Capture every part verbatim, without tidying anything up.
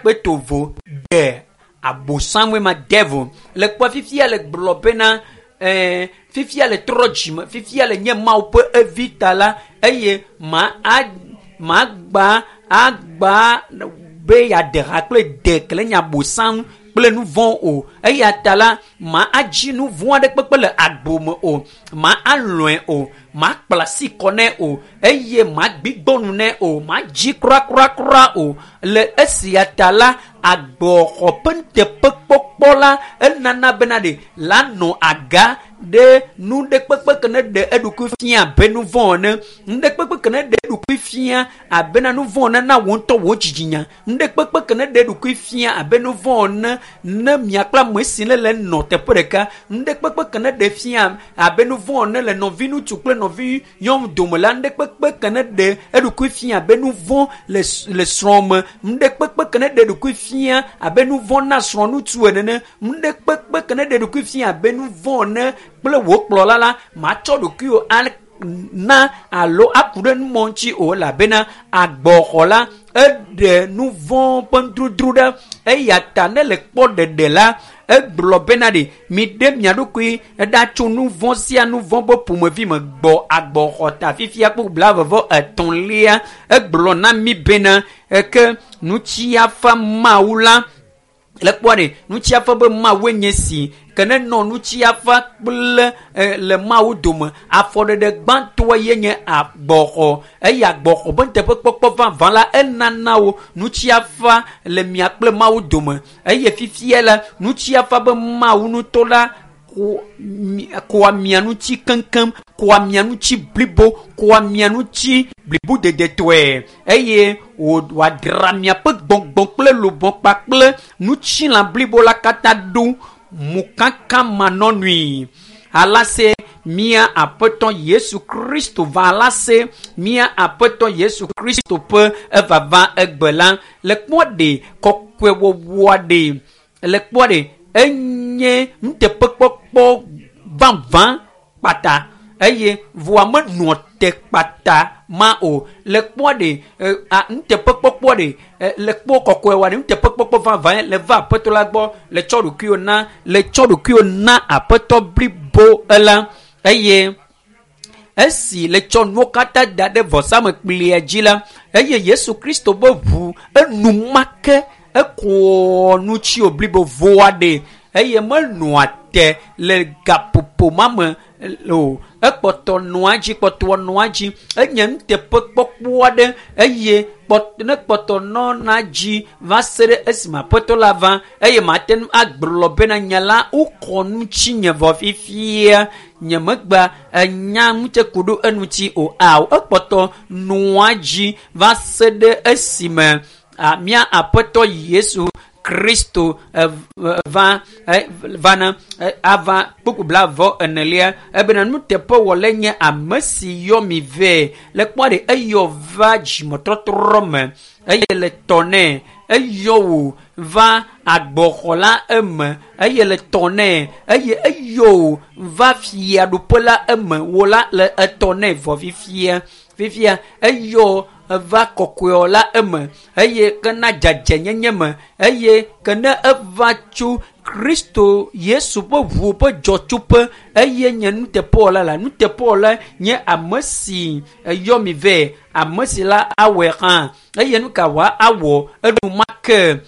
Kpe tovo de abosamue ma devil le kpɔ fifia le gblɔ bena ɛɛ fifia le trɔ dzime fifia le nye mawu ƒe evi ta la eye ma a ma gba agba be yeade ha kple de kele nye abosam kple nu vɔ̃ o eya ta la ma adzi nu vɔ̃ aɖe kpekpe le agbo me o ma alɔe o ma kpla asi kɔ nɛ o eye ma gbigbɔ nu nɛ o ma dzi kurakura o le esia ta la agbɔxɔ ƒe nuteƒekpɔkpɔ la enana bena ɖe la nɔ aga ɖe nu ɖe kpekpe ke ne ɖe eɖokui fia abe nu vɔ̃ ene nu ɖe kpekpe ke ne ɖe eɖokui fia abe na nu vɔ̃ ene na wò ŋutɔ wò dzidzinya nu ɖe kpekpe ke ne ɖe eɖokui fia abe nu vɔ̃ ene ne mia kple ame si ne le nɔ teƒe ɖeka nu ɖe kpekpe ke ne ɖe fia abe nu vɔ̃ ene le nɔvi ŋutsu kple nɔvi nyɔnu dome la nu ɖe kpekpe ke ne ɖe eɖokui fia abe nu vɔ̃ le le srɔ̃ me nu ɖe kpekpe ke ne ɖe eɖokui fia abe nu vɔ̃ na srɔ̃ ŋutsu ene nu ɖe kpekpe ke ne ɖe eɖokui fia abe nu vɔ̃ ene kple wò kplɔla la matsɔ ɖokuiwò na alo aku ɖe numɔ ŋuti o elabena agbɔxɔ la eɖe nu vɔ̃ ƒe nudrodro ɖa eya ta ne le kpɔ ɖeɖe la egblɔ bena ɖe mi ɖe mia ɖokui eɖa tso nu vɔ̃ sia nu vɔ̃ ƒe ƒomevi me gbɔ agbɔxɔ ta fifia kple blaeve etɔ̃lia egblɔ na mi bena eke nutsiafa mawu la le kpɔ ɖe nutsiafa be mawue nye si ke ne nɔ nutsiafa kple le mawu dome afɔɖeɖe gbãtɔa ye nye agbɔxɔ eye agbɔxɔ be nuteƒekpɔkpɔ vavã la enana wo nutsiafa le mia kple mawu dome eye fifia la nutsiafa be mawu ŋutɔ la kɔa mia ŋuti keŋkeŋ kɔa mia ŋuti blibo kɔa mia ŋuti blibodedetɔe eye wòadra miaƒe gbɔgbɔ kple lobɔ kpakple ŋutilã blibo la katã ɖo mokaka manɔnui alase mía aƒetɔ Yesu Kristo va alase mía aƒetɔ Yesu Kristo ƒe evava egbe la le kpɔ ɖe kɔkɔewɔwɔa ɖe le kpɔ ɖe enye nuteƒekpɔkpɔ vavã kpata eye voa menɔ te kpata ma o le kpɔ ɖe nuteƒekpɔkpɔ ɖe le kpɔ kɔkɔe wa ɖe nuteƒekpɔkpɔ vavã le va aƒetɔ la gbɔ le tsɔ ɖokuiwo na le tsɔ ɖokuiwo na aƒetɔ blibo la eye esi le tsɔ nuwo katã da ɖe vɔsamekplia dzi la eye Yesu Kristo be ʋu enumake ekɔ nutsiwo blibo voa ɖe eye menɔa te le gaƒoƒo ma me o ekpɔtɔ nɔa dzi kpɔtɔ nɔa dzi enye nuteƒekpɔkpɔ aɖe eye ne kpɔtɔ nɔna dzi va se ɖe esime aƒetɔ la va eye mate ŋu agblɔ bena nya la wokɔ ŋutinye vɔ fifia nye megba enya ŋutse ku ɖo eŋuti o ao ekpɔtɔ nɔa dzi va se ɖe esime mía aƒetɔ Yesu Kristo va vana ava kpukpu blaeve enelia ebena nuteƒewɔlae nye ame si yɔ mi vɛ le kpɔ ɖe eyɔ va dzimetɔtrɔ me eye le tɔ nɛ eyɔ wò va agbɔxɔ la eme eye le tɔ nɛ eye eyɔ wò va fiaɖuƒe la eme wò la le etɔ nɛ vɔ fifia fifia eyɔ eva kɔkɔe la eme eye ke na dzadzɛnyenye me eye ke ne eva tso Kristo Yesu ƒe ʋu ƒe dzɔtsoƒe eye nye nuteƒewɔla la nuteƒewɔla nye ame si eyɔ mi vɛ ame si la awɔe hã eye nu ka wòa awɔ enumake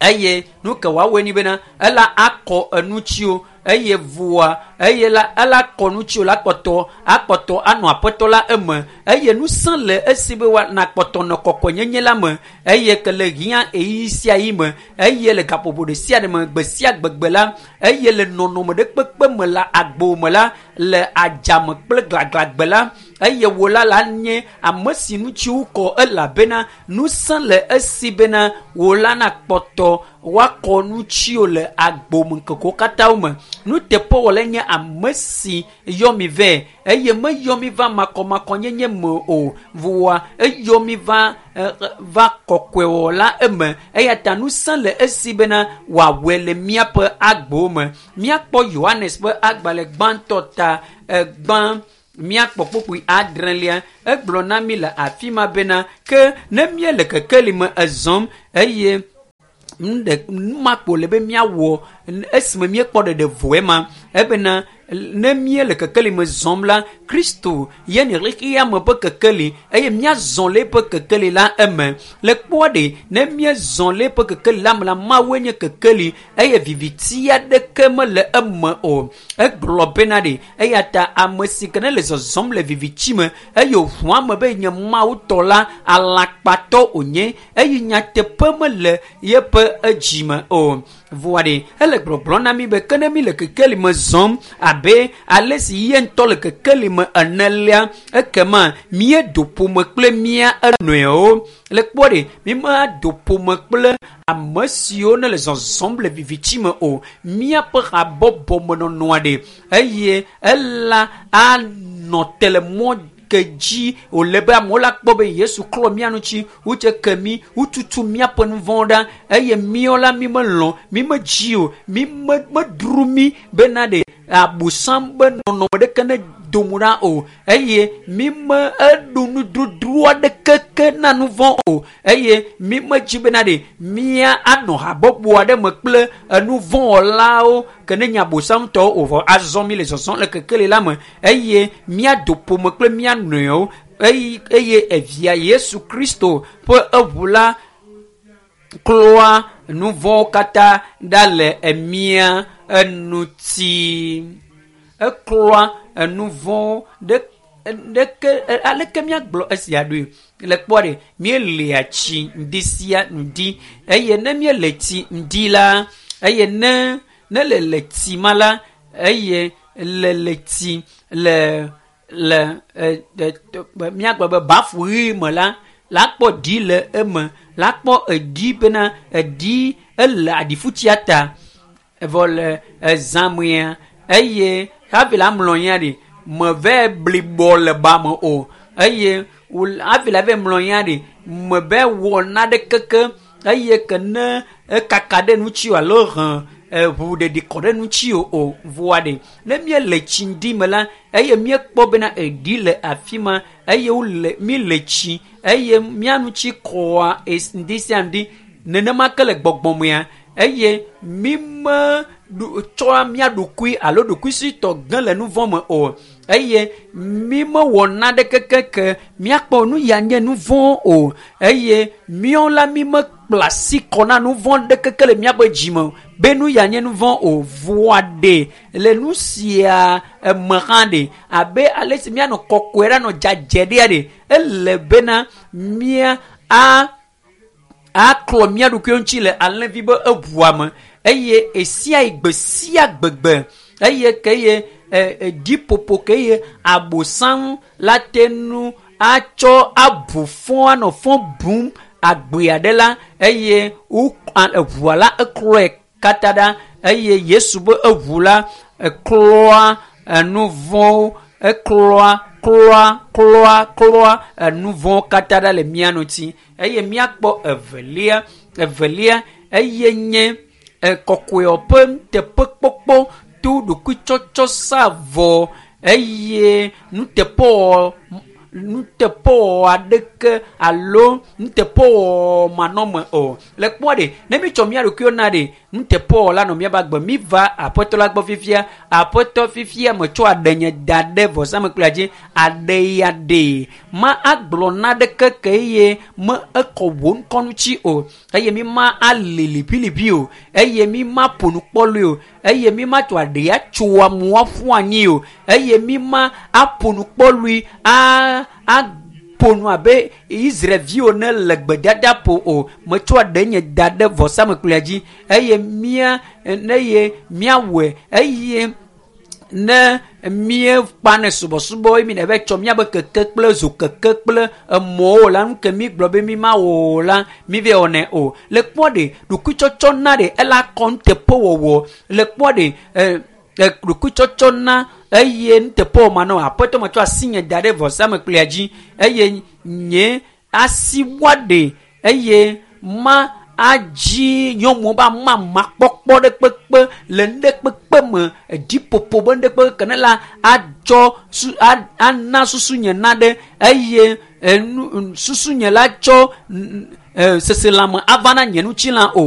eye nu ka wòawɔe ni bena ela akɔ enutsiwo eye voa eye la ela kɔ nutsiwo la kpɔtɔ akpɔtɔ anɔ aƒetɔ la eme eye ŋusẽ le esi be woana kpɔtɔ nɔ kɔkɔenyenye la me eye ke le hiã ɣeyiɣi sia ɣi me eye le gaƒoƒo ɖe sia ɖe me gbe sia gbegbe la eye le nɔnɔme ɖe kpekpe me le agbo me la le adzame kple glaglagbe la eye wò la la nye ame si ŋuti wokɔ elabena ŋusẽ le esi bena wò la nakpɔtɔ woakɔ nutsiwo le agbo me ŋkekewo katã me nuteƒewɔlae nye ame si yɔ mi vɛ eye meyɔ mi va makɔmakɔnyenye me o voa eyɔ mi va va kɔkɔewɔla eme eya ta ŋusẽ le esi bena wòawɔe le míaƒe agbo me míakpɔ Yohanes ƒe agbalẽ gbãtɔ ta egbã míakpɔ kpukpui adrelia egblɔ na mi le afi ma bena ke ne míele kekeli me ezɔm eye Nu ɖe nu ma kpo le be míawɔ esime míekpɔ ɖeɖe vɔe ma ebena ne míele kekeli me zɔm la Kristo ye nye xexea me ƒe kekeli eye míazɔ le eƒe kekeli la eme. Le kpɔa ɖe ne míezɔ le eƒe kekeli la me la Mawue nye kekeli eye viviti aɖeke mele eme o. Egblɔ bena ɖe eya ta ame si ke ne le zɔzɔm le viviti me eye wòʋu ame be nye Mawu tɔ la alakpatɔ wònye eye nyateƒe mele yeƒe edzime o. Vɔa ɖe ele gbɔgblɔm na mi be ke ne mi le kekeli me zɔm abe ale si ye ŋutɔ le kekeli me ene lia ekema míedo ƒome kple mía enɔewo. Le kpɔ ɖe mi mado ƒome kple ame siwo ne le zɔzɔm le viviti me o. Míaƒe habɔbɔmenɔnɔa ɖe eye ela anɔ te le mɔ ke dzi wòle be amewo la kpɔ be Yesu klɔ mía ŋuti, wotse ke mí, wotutu míaƒe nu vɔ̃wo ɖa eye míawo la mí melɔ̃, mí medzi o, mí me medro mí bena ɖe abosam be nɔnɔme ɖeke ne do mo ɖa o eye mí me eɖu nudrodro aɖeke ke na nu vɔ̃ o eye mí medzi bena ɖe mía anɔ habɔbɔ aɖe me kple enu vɔ̃wɔlawo ke ne nye abosam tɔwo o vɔ azɔ mí le zɔzɔm le kekeli la me eye míado ƒome kple mía nɔewo eye eye evia Yesu Kristo ƒe eʋu la klɔa nu vɔ̃wo katã ɖa le emía eŋuti. Eklɔa enu vɔ̃wo ɖe ɖeke aleke míagblɔ esia ɖoe le kpɔ ɖe míelia tsi ŋdi sia ŋdi eye ne míele tsi ŋdi la eye ne ne le le tsi ma la eye le le tsi le le e, e, míagblɔ be bafu ɣi me la la kpɔ ɖi le eme la kpɔ eɖi bena eɖi ele aɖifutsia ta evɔ le ezãmea eye hafi la mlɔ anyi ɖi meve blibɔ le ba me o eye hafi la va mlɔ anyi ɖi meve wɔ naɖeke ke eye ke ne ekaka ɖe ŋuti o alo he eʋu ɖeɖi kɔ ɖe ŋuti o o vɔa ɖe ne míele tsi ŋdi me la eye míekpɔ bena eɖi le afi ma eye wole míle tsi eye mía ŋuti kɔa ŋdi sia ŋdi nenema ke le gbɔgbɔmea eye mí me tsɔa mía ɖokui alo ɖokuisitɔ ge le nu vɔ̃ me o eye mí mewɔ naɖeke ke míakpɔ nu ya nye nu vɔ̃ o eye míawo la mí mekpla asi kɔ na nu vɔ̃ ɖeke ke le míaƒe dzime be nu ya nye nu vɔ̃ o vɔa ɖe le nu sia eme hã ɖe abe ale si míanɔ kɔkɔe ɖe anɔ dzadzɛ ɖea ɖe ele bena mía a aklɔ mía ɖokuiwo ŋuti le alẽvi be eʋua me eye esia yi gbe sia gbegbe eye ke ye ɖiƒoƒo ke ye abosam la te nu atsɔ abu fɔ anɔ fɔ bum agbea ɖe la eye wo eʋua la eklɔe katã ɖa eye Yesu be eʋu la eklɔa enu vɔ̃wo eklɔa klɔa klɔa klɔa enu vɔ̃wo katã ɖa le mía ŋuti eye míakpɔ evelia evelia eye nye kɔkɔewo ƒe nuteƒekpɔkpɔ to ɖokuitsɔtsɔ sa vɔ eye nuteƒewɔ nuteƒewɔwɔ aɖeke alo nuteƒewɔwɔ manɔme o. Le kpɔa ɖe ne mítsɔ mía ɖokuiwo na ɖe nuteƒewɔwɔ la nɔ míaƒe agbe mi va aƒetɔ la gbɔ fifia aƒetɔ fifia metsɔ aɖe nye da ɖe vɔsamlekpuia dzi aɖe ya ɖe ma agblɔ naɖeke ke eye me ekɔ wò ŋkɔ ŋuti o eye mi ma ali liʋiliʋi o eye mi ma ƒo nu kpɔlui o eye mi ma tsɔ aɖe atso amewo aƒu anyi o eye mi ma aƒo nu kpɔlui a aƒo nu abe Israelviwo ne le gbedadaƒo o metsɔ aɖe nye da ɖe vɔsamlekpuia dzi eye mía ne ye míawɔe eye ne míekpa ne subɔsubɔ eye mi ne va tsɔ míabe keke kple zokeke kple emɔwo la nu ke mi gblɔ be mi ma wɔ o la mi va wɔnɛ o le kpɔ ɖe ɖokuitsɔtsɔ na ɖe ela kɔ nuteƒewɔwɔ le kpɔ ɖe ɛ ɖokuitsɔtsɔ na eye nuteƒewɔwɔ manɔ aƒetɔ metsɔ asi nye da ɖe vɔsamlekpuia dzi eye nye asi wa ɖe eye ma adzi nyɔnuwo be amamakpɔkpɔ ɖe kpekpe le nu ɖe kpekpe me edziƒoƒo be nu ɖe kpekpe ke ne la atsɔ su ana susu nye na ɖe eye enu susu nye la tsɔ seselãme ava na nye ŋutilã o.